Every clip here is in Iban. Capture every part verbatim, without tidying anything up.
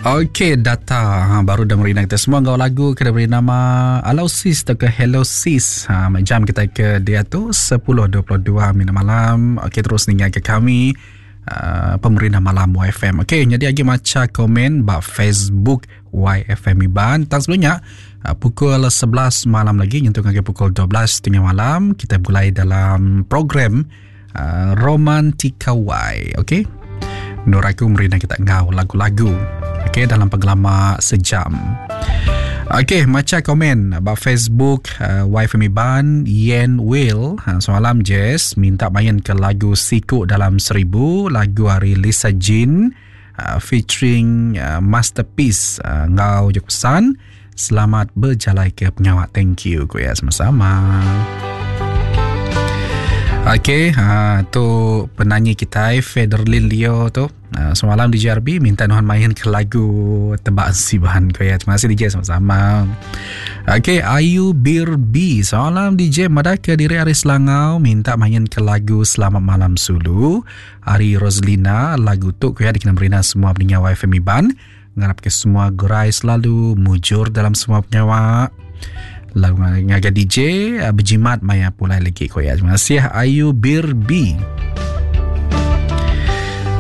Okey, data ha, baru dah merindang kita semua enggau lagu ke diberi nama Alau Sis atau ke Hello Sis. Ha, jam kita ke dia tu sepuluh dua puluh dua minit malam. Okey, terus ningal ke kami uh, pemerintah malam Y F M. Okey, jadi lagi maca komen ba Facebook Y F M Iban. Tang sebelumnya uh, pukul sebelas malam lagi nyentuh ke pukul dua belas tiga puluh malam kita mulai dalam program uh, Romantika Y. Okey. Nur aku merindang kita ngau lagu-lagu. Okey, dalam penggelama sejam. Okey, maca komen ba Facebook uh, Y F M Iban. Yen Will, ha, semalam Jess minta main ke lagu Siku Dalam Seribu, lagu hari Lisa Jean uh, featuring uh, Masterpiece uh, ngau je pesan selamat berjalai ke pengawak. Thank you ku ya, sama-sama. Okey, ha, tu penyanyi kita Federlin Leo tu. Ha, semalam di J R B minta Nuhan main ke lagu Tebak Sibahan kau ya. Terima kasih D J, sama-sama. Okey, Ayu Birbi. Semalam D J madah ke diri Ari Selangau minta main ke lagu Selamat Malam Sulu. Ari Roslina, lagu tu kau ya dikena berina semua pendengar Y F M Iban. Ngarap ke semua gerai selalu mujur dalam semua penyawa. Lagu ngaga D J berjimat maya pulai lagi ko ya. Terima kasih Ayu Birbi.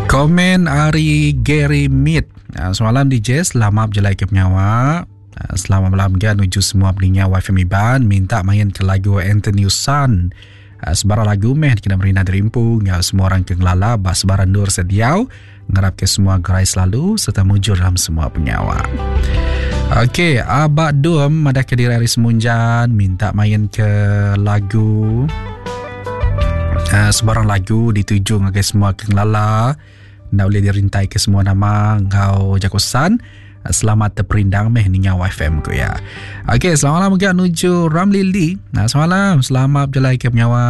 Komen Ari Gary Mead. Semalam D J selamat berjalai ke penyawa. Selamat malam kan menuju semua pendengar Y F M Iban. Minta main ke lagu Anthony Sun. Sebarang lagu meh kena merina derimpu ngau semua orang ke ngelala bas sebarang nur sediau. Ngarap ke semua gerai selalu serta mujur dalam semua penyawa. Okey, Abak Dum ada ke diri Ari Semunjan minta main ke lagu uh, sebarang lagu dituju ngagai semua kengelala. Nak boleh dirintai ke semua nama ngau jakosan. Selamat terperindang meh ninga Y F M ku ya. Okey, selamat malam juga nuju Ramli Lee. Nah, selamat malam, selamat berjalai ke penyawa.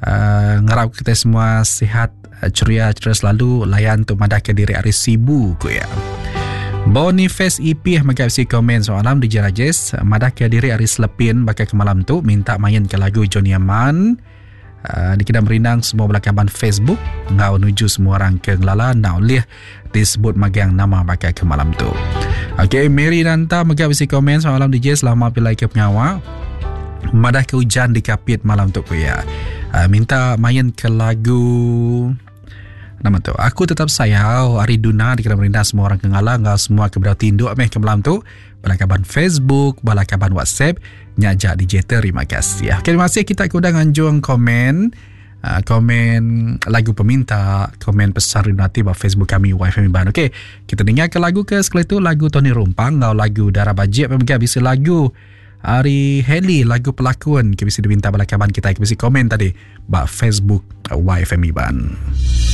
Uh, ngarap kita semua sihat, ceria, ceria selalu. Layan tu madah ke diri Ari Sibu ku ya. Boniface E P mega si komen soalan di Jerajes madah ke diri Ari Selepin bakal ke malam tu minta main ke lagu Johnny Aman. Uh, dikira merindang semua belakaban Facebook ngau nuju semua orang ke ngelala nak boleh disebut magang nama bakal ke malam tu. Okey, Mary Nanta mega bisi komen soalan D J selamat pilai ke pengawa. Madah ke hujan di Kapit malam tu ku ya. Uh, minta main ke lagu nama tu Aku Tetap Sayau Ari Duna dikira merindang semua orang ke ngala ngau semua ke berau tinduk meh ke malam tu. Balakaban Facebook, balakaban WhatsApp nyajak D J terima kasih. Okey, terima kasih kita ke udang anjung komen uh, komen lagu peminta, komen pesan rindu ba Facebook kami Y F M Iban. Okey, kita dengar ke lagu ke sekali tu lagu Tony Rumpang ngau lagu Darah Bajik mega bisa lagu Ari Heli lagu pelakon ke bisa diminta balakaban kita ke bisa komen tadi ba Facebook Y F M Iban.